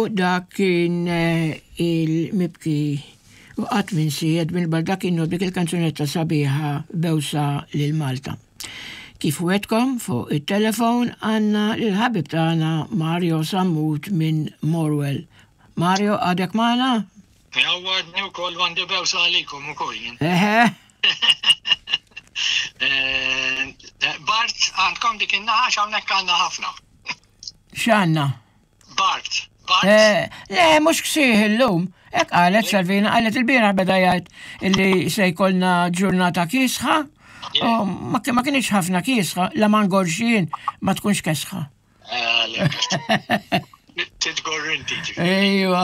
U dak kien eh, il-mibki u qatt minsi Edwin Baldacchino dik il-kanzunetta sabiħa bewsa lil Malta. Kif wetkom fuq it-telefon għandna lil ħabib tagħna Mario Sammut minn Morwell. Mario għadek magħna? Għadni wkoll għandi bewsa għalikom ukoll. Eħe. Eh, Bart, għandkom dik in-naħa hawnhekk għandna ħafna. X'għandna? Bart. Bart. Eh, le, mhux ksieħ illum. Hekk qalet Salvina, qalet il-bieraħ beda jgħid illi se jkollna ġurnata kiesħa. U ma ma kienx ħafna kiesħa, la ma ngorxin ma tkunx kesħa. Eh, Titgorr inti. Ejwa,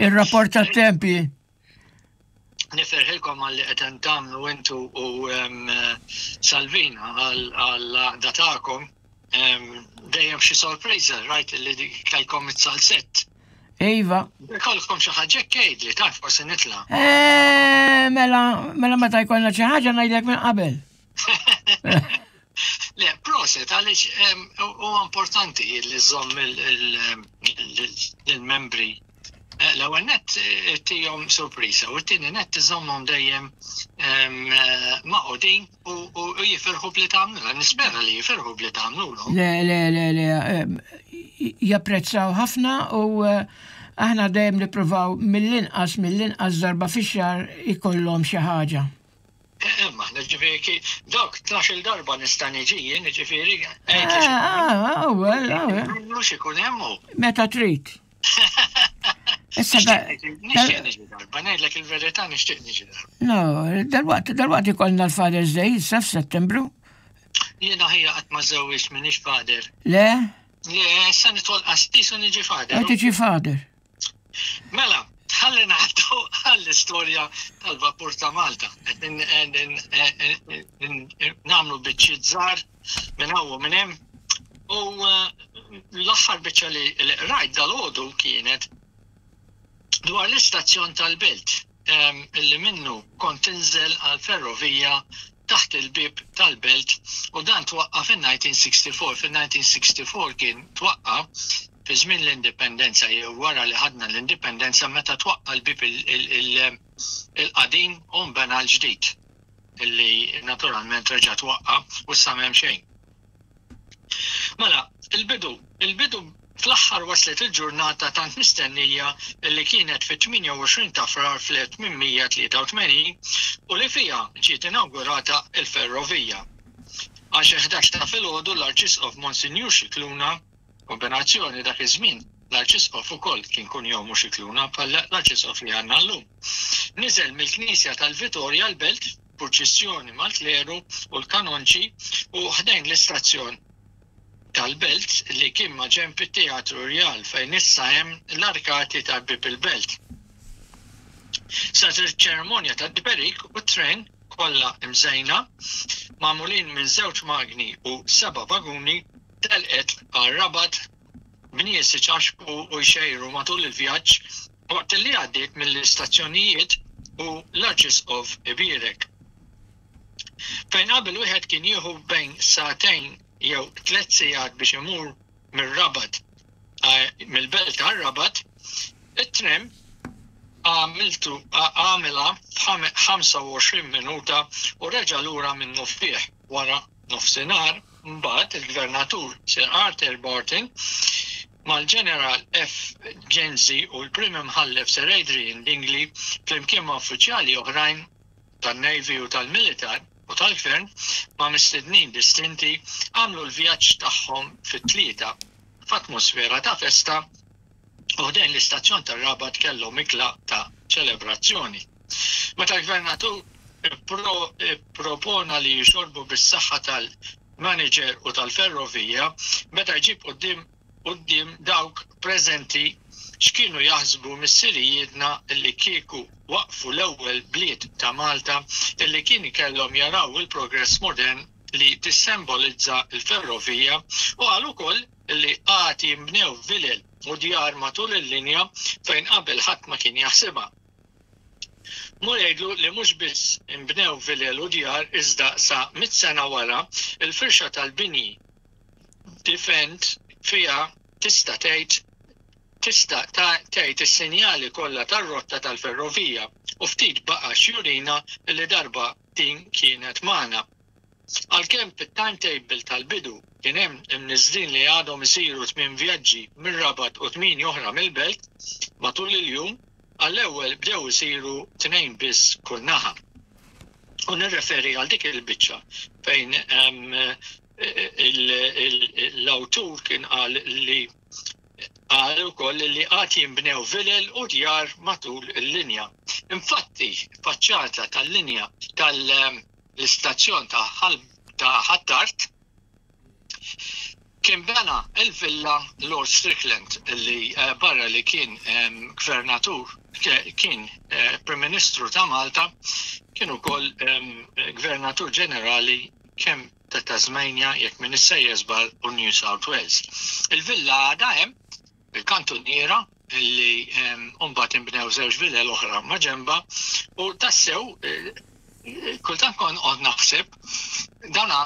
ir-rapport tat-tempi. Nifirħilkom għal li qed tagħmlu intu u Salvina għal datakom. Dejjem xi sorpriża, rajt li kellkom it-salsett. Iva. Kollkom xi ħaġa li taf forsi nitla'. Eh, mela, mela meta jkollna xi ħaġa ngħidlek minn qabel. Le, proset, għaliex huwa importanti li żomm il-membri. Eh, l-ewwel nett eh, tihom sorpriża u t-tieni nett iżommhom dejjem eh, maqudin u jifirħu bli tagħmlu. Nispera li jifirħu bli tagħmlu. Le, le, le, le, japprezzaw ħafna u aħna dejjem nippruvaw mill-inqas mill-inqas darba fix-xahar ikollhom xi ħaġa. Imma, ġifieri, dawk 12 darba nista' niġi jien, ġifieri. Ah, well, Mhux ikun hemm hu. Meta trid. Issa nixtieq niġi darba, ngħidlek il-verità nixtieq niġi darba. No, dalwaqt dalwaqt ikollna l-Father's Day issa f'Settembru. Jiena ħija qatt ma żewwiġt m'iniex father. Le? Le, issa nidħol qassis u niġi father. Tiġi father. Mela, ħalli ngħaddu għall-istorja tal-vapur ta' Malta. Nagħmlu biċċiet żgħar minn hawn u minn hemm. U eh, l-aħħar biċċa li rajt dal-għodu kienet dwar l-istazzjon tal-belt illi minnu kont tinżel għal ferrovija taħt il-bib tal-belt u dan twaqqa fin-1964. Fin-1964 kien twaqqa fi żmien l-indipendenza jew wara li ħadna l-indipendenza meta twaqqa l-bib il-qadim u nbena l-ġdid illi naturalment reġa' twaqqa u issa m'hemm xejn. Mela, il-bidu, il-bidu fl-aħħar waslet il-ġurnata tant mistennija illi kienet fit-28 ta' Frar fl-1883 u li fiha ġiet inawgurata l-ferrovija. Għal xi 11 ta' filgħodu l-Arċisqof Monsinjur Scicluna, kombinazzjoni dak iż-żmien l-Arċisqof ukoll kien kunjomu Scicluna bħal l-Arċisqof li għandna llum, niżel mill-Knisja tal-Vitorja l-Belt purċissjoni mal-kleru u l-kanonċi u ħdejn l-istazzjon tal-Belt li kien maġenb it-Teatru Rjal fejn issa hemm l-arkati ta' Bieb il-Belt. Saret iċ-ċerimonja tat-tberik u t-tren kollha mżejna, magħmulin minn żewġ magni u seba' vaguni, telqet għar-Rabat b'nies iċaxxqu u jxejru matul il-vjaġġ waqt li għaddiet mill-istazzjonijiet u l-Arċisqof ibierek. Fejn qabel wieħed kien jieħu bejn sagħtejn jew tlett sigħat biex imur mir-Rabat mill-belt għar-Rabat, it-tram għamiltu għamilha f'25 minuta u reġa' lura minnufih wara nofsinhar. Mbagħad il-Gvernatur Sir Arthur Barton mal-Ġeneral F. Genzi u l-Prim Imħallef Sir Adrian Dingli flimkien ma' uffiċjali oħrajn tan-Navy u tal-Militar u tal-Gvern ma' mistednin distinti għamlu l-vjaġġ tagħhom fit-Tlieta f'atmosfera ta' festa u ħdejn l-istazzjon tar-Rabat kellhom ikla ta' ċelebrazzjoni. Meta l-Gvernatur ippropona li jixorbu bis-saħħa tal-maniġer u tal-ferrovija, beda jġib quddiem quddiem dawk preżenti x'kienu jaħsbu missirijietna li kieku waqqfu l-ewwel bliet ta' Malta illi kien kellhom jaraw il-progress modern li tissembolizza l-ferrovija u qal ukoll li għad jinbnew vilel u djar matul il-linja fejn qabel ħadd ma kien jaħsibha. Mur jgħidlu li mhux biss inbnew vilel u djar iżda sa mitt sena wara l-firxa tal-bini difend fiha tista' tgħid tista' tgħid is-sinjali kollha tar-rotta tal-ferrovija u ftit baqa' x'jurina li darba din kienet magħna. Għalkemm fit-timetable tal-bidu kien hemm imniżżlin li għadhom isiru tminn vjaġġi mir-Rabat u tmieni oħra mill-Belt matul il-jum, għall-ewwel bdew isiru tnejn biss kull naħa. U nirreferi għal dik il-biċċa fejn l-awtur kien qal li qal ukoll li għad jinbnew vilel u djar matul il-linja. Infatti, faċċata tal-linja tal- l-istazzjon ta' Ħ'Attard kien bena l-villa Lord Strickland li barra li kien gvernatur kien Prim Ministru ta' Malta kien ukoll Gvernatur Ġenerali kemm ta' Tasmania jekk m'iniex sejjer żball u New South Wales. Il-villa għadha hemm, il-kantuniera li mbagħad inbnew żewġ vilel oħra ma' ġenbha u tassew kultant kont qod naħseb dana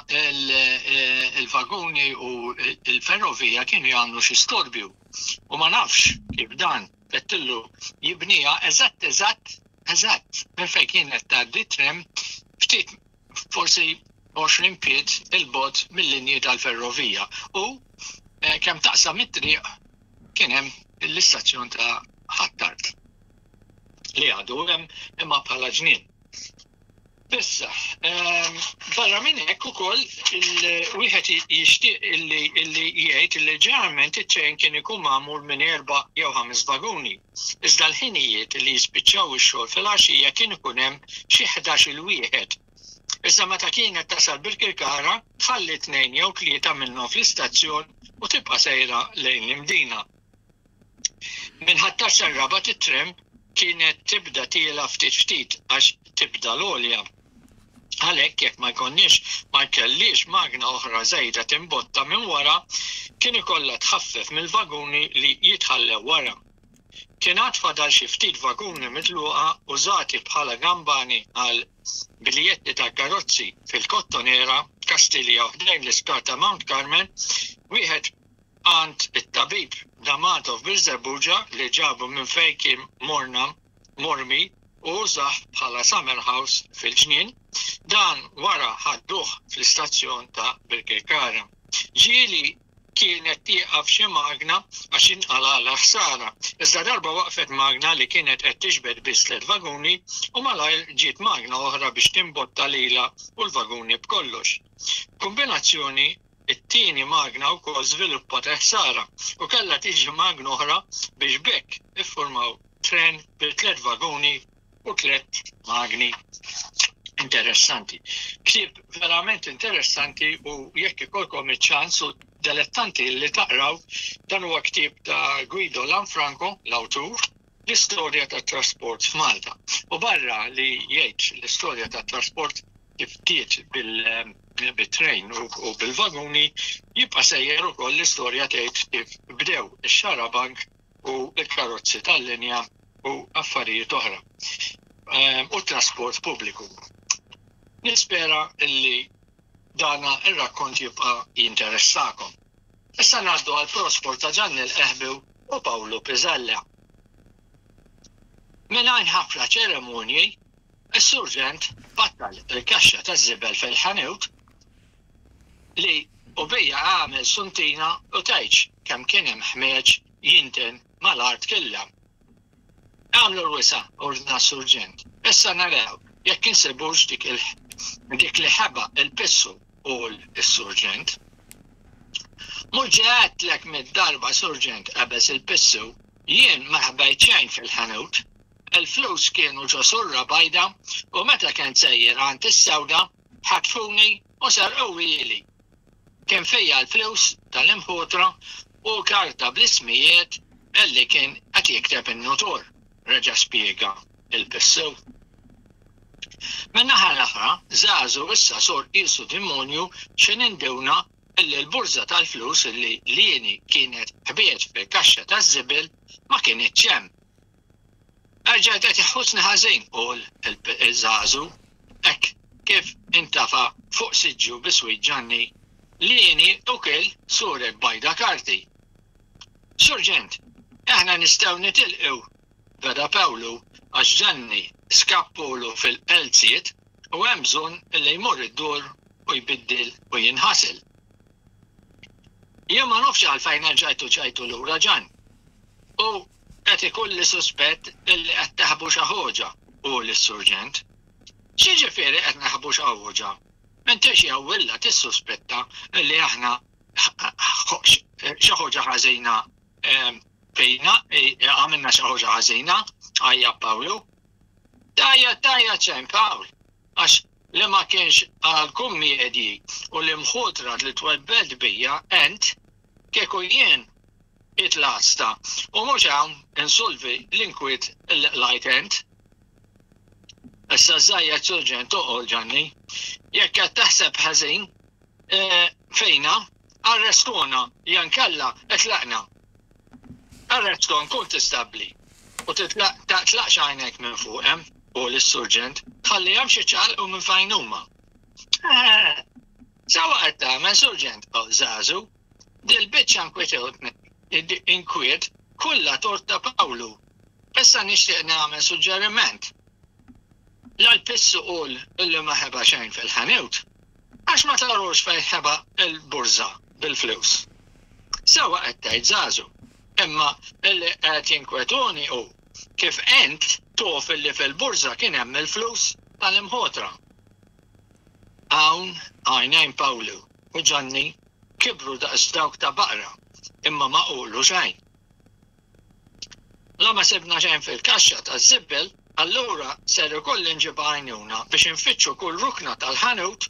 il-vaguni u l-ferrovija kienu jagħmlu xi storbju u ma nafx kif dan fettillu jibniha eżatt eżatt eżatt minn fejn kienet tgħaddi t-tram ftit forsi 20 pied 'il bogħod mil-linji tal-ferrovija u kemm taqsam it-triq kien hemm l-istazzjon ta' Ħ'Attard li għadu hemm imma bħala ġnien. Issa, barra minn hekk ukoll wieħed jixtieq illi jgħid illi ġeneralment it-trejn kien ikun magħmul minn erba' jew ħames vaguni. Iżda l-ħinijiet li jispiċċaw ix-xogħol filgħaxija kien ikun hemm xi ħdax-il wieħed. Iżda meta kienet tasal Birkirkara tħalli tnejn jew tlieta minnhom fl-istazzjon u tibqa' sejra lejn l-Imdina. Minn Ħ'Attard sar-Rabat it-tram kienet tibda tiela' ftit ftit għax tibda l-għolja. Għalhekk jekk ma jkollniex ma jkellhiex magna oħra żejda timbotta minn wara, kien ikollha tħaffef mill-vaguni li jitħallew wara. Kien għad fadal xi ftit vaguni mitluqa użati bħala gambani għal biljetti tal-karozzi fil-Kottonera, Kastilja u ħdejn l-isptar ta' Mount Carmel, wieħed għand it-tabib D'Amato f'Birżebbuġa li ġabu minn fejn kien morna mormi u użah bħala summer house fil-ġnien, dan wara ħadduh fl-istazzjon ta' Birkirkara. Ġieli kienet tieqaf xi magna għax inqalgħalha ħsara, iżda darba waqfet magna li kienet qed tiġbed biss tliet vaguni u malajr ġiet magna oħra biex timbotta lilha u l-vaguni b'kollox. B'kumbinazzjoni It-tieni magna wkoll żviluppat il-ħsara u kellha tiġi magna oħra biex b'hekk iffurmaw tren bi tliet vaguni u tliet magni. Interessanti. Ktieb verament interessanti u jekk ikollkom iċ-ċans u delettanti li taqraw, dan huwa ktieb ta' Guido Lanfranco, l-awtur, l-istorja tat-trasport f'Malta. U barra li jgħid l-istorja tat-trasport kif bdiet bil-trejn u bil-vaguni, jibqa' sejjer ukoll l-istorja tgħid kif bdew ix-xarabank u l-karozzi tal-linja u affarijiet oħra u t-trasport pubbliku. Nispera li dana r-rakkont jibqa' jinteressakom. Issa ngħaddu għall-prospor ta' Ġanni l-Qehbiw u Pawlu Pisella. Mingħajr ħafna ċeremonji, is-Surġent battal il-kaxxa taż-żibel fil-ħanut li u bija għamel suntina u tgħidx kemm kien hemm ħmieġ jinten mal-art killha. Agħmlu l-wisa', ordna s-Surġent. Issa naraw jekk insibux dik il dik li ħeba il-pissu, qul is-Surġent. Mhux ġa għedtlek mitt darba, Surġent, qabeż il-pissu, jien ma ħbejt xejn fil-ħanut. Il-flus kienu ġo surra bajda u meta kent sejjer għand is-sewda ħatfuni u serquhieli. Kien fija l-flus tal-imħutra u karta bl-ismijiet li kien qed jikteb in-nutur, reġa' spjega l-Pissu. Min-naħa l-oħra, żagħżu issa sor qiesu dimonju x'ħin induna illi l-burża tal-flus li Lieni kienet ħbiet fil-kaxxa taż-żibel ma kinitx hemm. Erġajt qed iħossni ħażin, qal iż-żagħżu, hekk kif intafa' fuq siġġu biswit Ġanni. Lieni u kiel surek bajda karti. Surġent, Aħna nistgħu nitilqu, beda Pawlu għax Ġanni skappulu fil-qelziet u hemm bżonn li jmur id-dur u jbiddel u jinħasel. Jien ma nafx għalfejn erġajtu ġejtu lura Ġann. U qed ikolli suspett illi qed taħbu xi ħoġa, qul is-surġent. X'jiġifieri qed naħbu xi ħoġa? M'intix jewwilla tissuspetta illi aħna xi ħoġa ħażina fina, għamilna xi ħoġa ħażina, għajjat Pawlu. Tgħajjat tgħajjat xejn Pawl, għax li ma kienx għall-kummiedji u l-imħutra li twebbelt bija ent, kieku jien qiegħed l-għasta u mhux hawn insolvi l-inkwiet li qlajt ent. Issa żżajjed Surġent oqgħol Ġanni. Jekk qed taħseb ħażin fina, arrestuna jankella itlaqna. Arreston kun tistabbli u titlaqx għajnejk minn fuqhem, qul is-surġent, tħallihomx iċaqalqu minn fejn huma. Eh, sewwa qed tagħmel, surġent, qal Żagħżu. Dil-biċċa inkwiet kollha tort ta' Pawlu. Issa nixtieq nagħmel suġġeriment. La l-pissu qul illi ma ħeba xejn fil-ħanut, għax ma tarux fejn ħeba l-burża bil-flus. Sewwa qed tgħid Żagħżu, imma illi qed jinkwetuni hu kif int tof illi fil-burża kien hemm il-flus tal-imħotra. Hawn għajnejn Pawlu u Ġanni kibru daqs dawk ta' baqra imma ma qulu xejn. La ma sibna xejn fil-kaxxa taż-żibbel, allura ser ikolli nġib għajnuna biex infittxu kull rukna tal-ħanut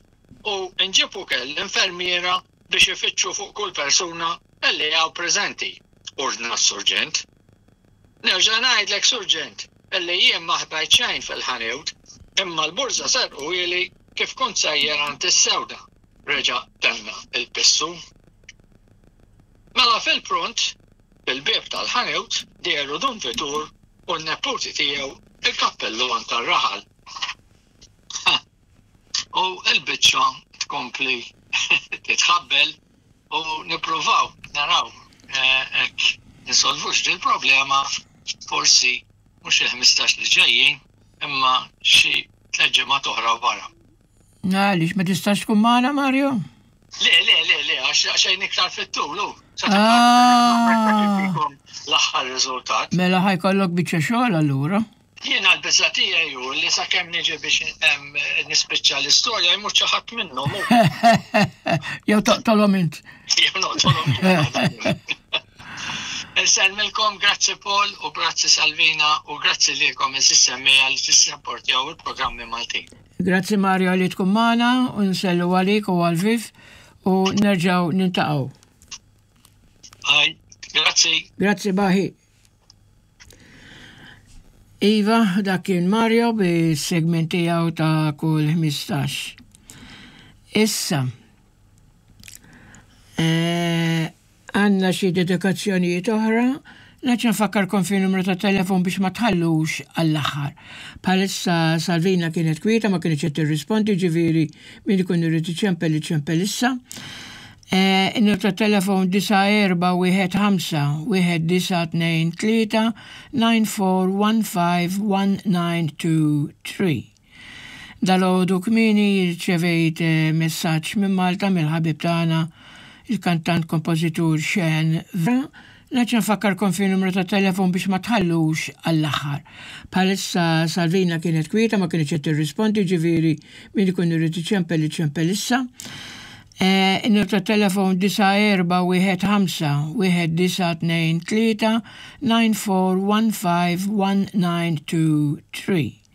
u nġib ukel l-infermiera biex ifittxu fuq kull persuna li hawn preżenti, ordna s-surġent. Nerġa' ngħidlek, surġent, illi jien ma ħbajt xejn fil-ħanut, imma l-burża serquhieli kif kont sejjer għand is-sewda, reġa' tenna l-pissu. Mela fil-pront, fil-bieb tal-ħanut dehru Dun Vitur u n-neputi tiegħu il-kappelluan tar-raħal. U l-biċċa tkompli titħabbel u nippruvaw naraw hekk insolvux dil-problema forsi mhux il-15 li ġejjin imma xi tliet ġimgħat oħra wara. Għaliex ma tistax tkun magħna Mario? Le, le, le, le, għax xejn iktar fit-tul, u. Ah. L-aħħar riżultat. Mela ħajkollok biċċa xogħol allura. Jiena l-biża' tiegħi hu li sakemm niġi biex nispiċċa l-istorja jmut xi ħadd minnhom. Jew toqtolhom int. Jew noqtolhom jien. Insellmilkom, grazzi Paul u grazzi Salvina u grazzi lilkom għeżież semmiegħa li tissapportjaw il-programmi Maltin. Grazzi Mario li tkun magħna u nsellu għalik u għal Viv u nerġgħu nintaqgħu. Grazzi. Grazzi baħi. Iva, dak kien Mario bis-segment tiegħu ta' kull 15. Issa, eh, għandna xi dedikazzjonijiet oħra, Naċ nfakkarkom fi numru ta' telefon biex ma tħallux għall-aħħar. Bħalissa Salvina kienet kwieta ma kienx qed tirrispondi ġifieri min ikun irid iċempel iċempel issa. In-numru tat-telefon 9415 1923 9415 1923. Dalgħodu kmieni rċevejt messaġġ minn Malta mill-ħabib tagħna il-kantant kompożitur Sean Vera. Nerġa' nfakkarkom fin-numru tat-telefon biex ma tħallux għall-aħħar. Bħalissa Salvina kienet kwieta ma kinitx qed tirrispondi ġifieri min ikun irid iċempel iċempel issa. In-numru tat-telefon 9415 1923 9415 1923.